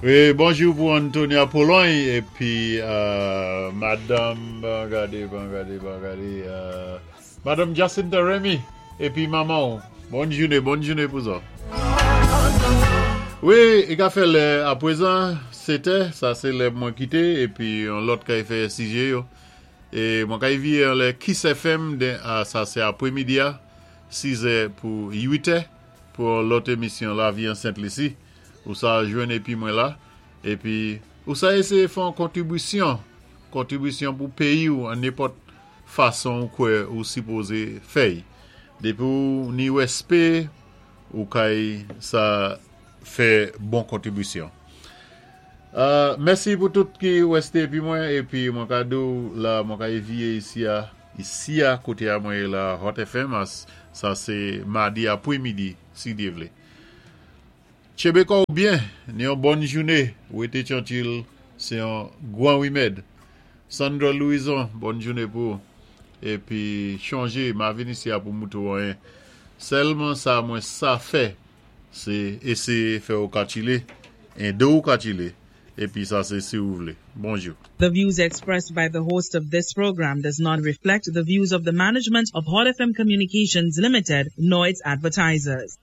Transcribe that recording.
Wi, bonjou pou Antonia Pologne épi madanm, ban gadé, ban gadé, ban gadé, madanm Jacinta Remy épi manman. Bòn jouné, bòn jouné pou zòt. Wi, i ka fè lè apwézan, 7è, sa sé lè mwen kité épi yon lòt kay fè sijé yo. É mwen kay viyé anlè Kiss FM, sa sé apwémidi a, 6è pou 8è, pou yon lòt émisyon Lavi an Sent Lisi. Ou sa jwenn épi mwen la. Épi, ou sa éséyé fè yon kontribisyon, kontribisyon pou péyi ou an nenpòt fason ou kwè ou sipozé fè. Dépi ou ni wèspé, ou kay sa fè bon kontribisyon. Mèsi pou tout ki wèsté épi mwen, épi mwen ka di ou la, mwen ka éviyé isi a, isi a, koté a mwen yé la, Hot FM, sa sé madi apwémidi, si Dye vlé. Tchenbé kò ou byen, ni yon bòn jouné, wété tyankil, sé yon gwan wimèd. Sandra Louison, bòn jouné pou ou. Épi chonjé, ma vin isi a pou moutré ou anyen. Sèlman sa mwen sa fè, sé éséyé fè ou ka tchilé, édé ou ka tchilé, épi sa sé si ou vlé. Bonjou. The views expressed by the host of this program does not reflect the views of the management of Hot FM Communications Limited nor its advertisers.